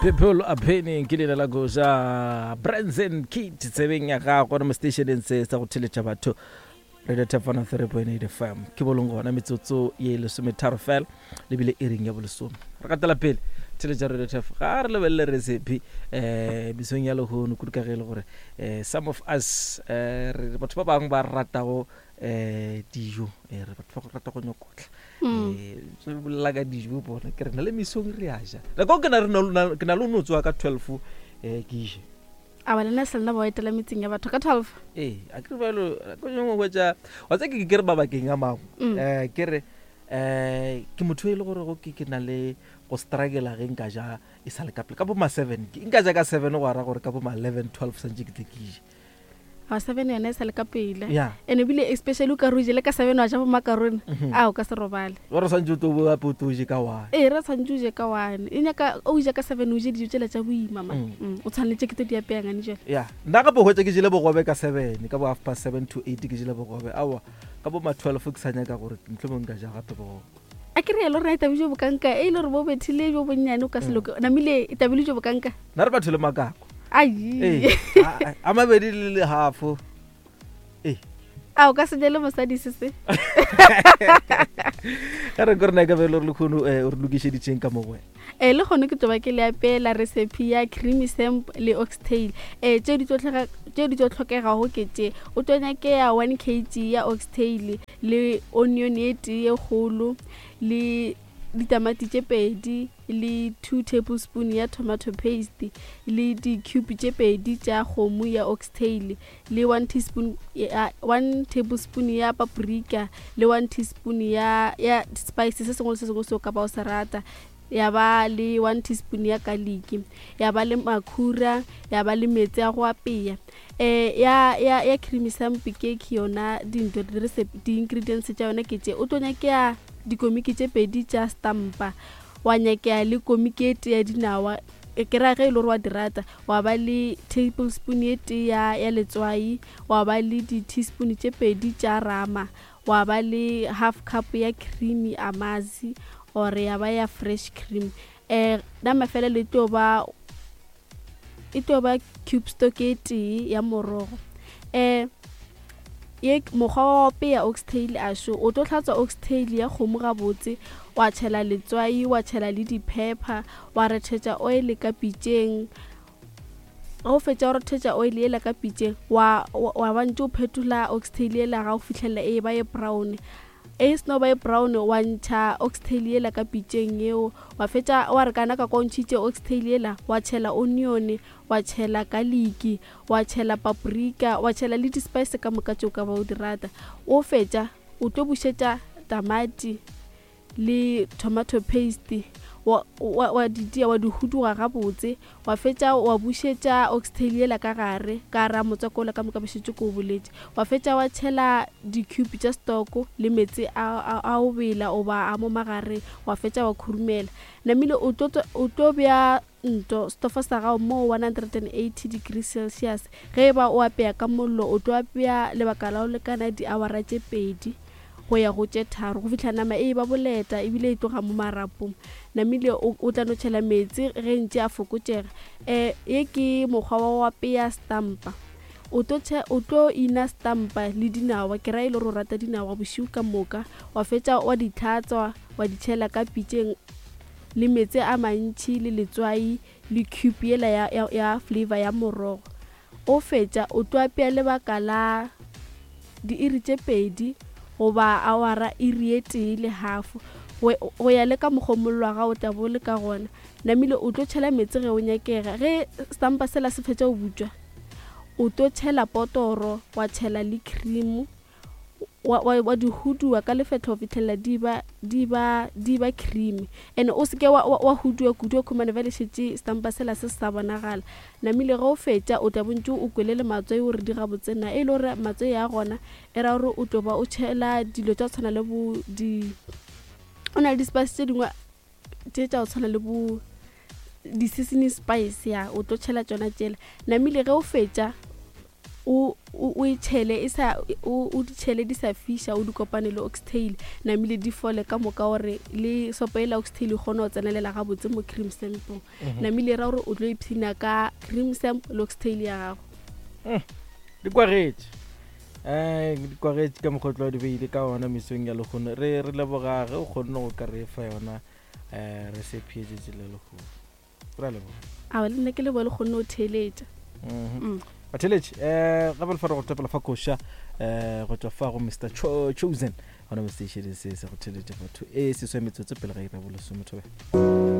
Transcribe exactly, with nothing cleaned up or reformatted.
People are penning ke leina la koša Branson Kit tsebeng ya gago gona mo stationeng se sa go theletša batho Radio Tap one oh three point eight F M. Ke bolong gona metsotso ye lesometharo fela lebile e reng ya bolesome. Re gatela pele theletša Radio Tap ga re lebelele recipe eh mesong ya lehono kudu ka ge e le gore eh some of us eh re batho ba bangwe ba ratago eh dijo eh re batho ba go rata go nyokotla eh so bolela ka dijo bona ke re na le mesong re a ja le ko ke na re na ke na le no tswa ka twelve eh ke je a ba lena se lena ba etela metseng ya batho ka twelve eh a ke re balo ko nyongwe go tša wa tsa ke ke re mabakeng a mangwe eh ke re eh ke motho e le gore go ke ke na le go struggle ge nka ja e sa le ka pele ka bo ma seven ke nka ja ka seven go ara gore ka bo ma eleven twelve santse ke tle ke je a seven yona e sa le ka pele and ebile especially o ka re o jele ka seven wa ja bo macaroni a o ka se robale wa re santse o tlo bo gape o tlo je ka one ee re santse o je ka one e nyaka o ja ka seven o je dijo tsela tša boima ma o tshwanetse ke tse di apeyang ane jale ya nna gape hwetša ke jele bogobe ka seven ka bo half past seven to eight ke jele bogobe aowa ka bo ma twelve ke sa nyaka gore mohlomong nka ja gape bogobe a ke re yalo rena e tabile jo bokanka e le gore bo bethile jo bonnyane o ka se loke namile e tabile jo bokanka nna re batho le makako ai a mabedi le le halfo ee a o ka se jele mosadi se se ga re ko rena ka bele gore le kgono o re lokišeditšeng ka mo go wena eh le kgono ke tlo ba ke le apeela recipe ya creamy samp le oxtail eh tše di tlo tlhoka tše di tlo tlhokegago ke tše o tlo nyakea one kg ya oxtail le onion e tee ye kgolo le ditamati tše pedi le two tablespoon ya tomato paste le di-cube tše pedi tša kgomo ya oxtail le one teaspoon ya one tablespoon ya paprika le one teaspoon ya ya spice se sengwe le se sengwe seo ka ba o se rata ya ba le one teaspoon ya garlic ya ba le makhura ya ba le metsi a go apea eh ya ya ya creamy samp ke ke yona dintho di recipe di ingredients tša yona ke tše o tlo nyakea dikomiki tše pedi tša stampa wa nyakea le komiki e tee ya dinawa ke ra ge e le gore wa di rata wa ba le tablespoon e tee ya ya letswai wa ba le di-teaspoon tše pedi tša rama wa ba le half cup ya creamy amazi or ya ba ya fresh cream eh nama fela le tlo ba e tlo ba cube stock e tee ya morogo eh ye mokgwa wa go apeya oxtail a šo o tlo hlatswa oxtail ya kgomo gabotse wa tšhela letswai wa tšhela le di-pepper wa rethetša oil ka pitšeng ge o fetša go rethetša oil yela ka pitšeng wa wa ba ntše o phetola oxtail yela ga o fihlelela e ba ye brown e seno ba ye brown wa ntšha oxtail yela ka pitšeng yeo wa fetša wa re kana ka kwa o ntšhitše oxtail yela wa tšhela onion wa tšhela garlic wa tšhela paprika wa tšhela le di-spice ka moka tšeo ka ba o di rata o fetša o tlo bušetša tamati le tomato paste wa wa wa di dia wa di huduga gabotse wa fetša wa bušetša oxtail yela ka gare ka ra motswako ola ka moka bošetše ko o boletše wa fetša wa tšhela di-cube tša stoko le meetse a a o bela oba a mo magareng wa fetša wa khurumela namile o tlo o tlo bea nto stofo sa gago mo one hundred and eighty degrees Celsius ge e ba o apeya ka mollo o tlo apeya lebaka la go lekana di-hour-a tše pedi go ya go tše tharo go fihla nama e ba boleta ebile e tloga mo marapong namile o tla no tšhela meetse ge ntše a fokotšega um ye ke mokgwa wa go apeya stampa o tlo o tlo ina stampa le dinawa ke ra e le gore o rata dinawa bošego ka moka wa fetša wa di tlhatswa wa di tšhela ka pitšeng le meetse a mantši le letswai le cube yela ya, ya, ya flavor ya morogo o fetša o tlo apea lebaka la diiri tše pedi goba awara iri e tee le half go ya le ka mokgwa mollo wa gago o tla bo le ka gona namile o tlo tšhela meetse ge o nyakega ge stampa sela se fetša go butšwa o tlo tšhela potoro wa tšhela le cream wa, wa, wa di hudua ka lefetlho go fihlelela di ba di ba di ba creamy and o seke wa, wa, wa hudua kudu o khumane bjale šetše stampa sela se se sa bonagala namile ge o fetša o tla bontše o kwele le matswai gore di gabotse na e le gore matswai a gona e ra gore o tlo ba o tšhela dilo tša go tshwana le bo di o na le di-spice tše dingwe tše tša go tshwana le bo di-seasoning spice ya o tlo tšhela tšona tšela namile ge o fetša O o e tšhele e sa o o di tšhele di sa fiša, o di kopane le oxtail, namile di fole ka moka gore le sopo e la oxtail e kgone go tsenelela gabotse mo cream sampong. Namile e ra gore o tlo ipshina ka cream samp le oxtail ya gago. Di kwagetše, um di kwagetše ka mokgotlo wa di beile ka ona mesong ya lekgono. Re re leboga ge o kgonne go ka re fa yona um recipe e tšetši le lekgono. Re a leboga. A le nna ke leboa le kgonne go theeletša. Mhm. Batheletše, um gape le fa re go topela fa koša um go tšwa fa go Mister Cho Chosen gona mo station se se go theletša batho e seswe metsotso pele ga ira bolesome thobe.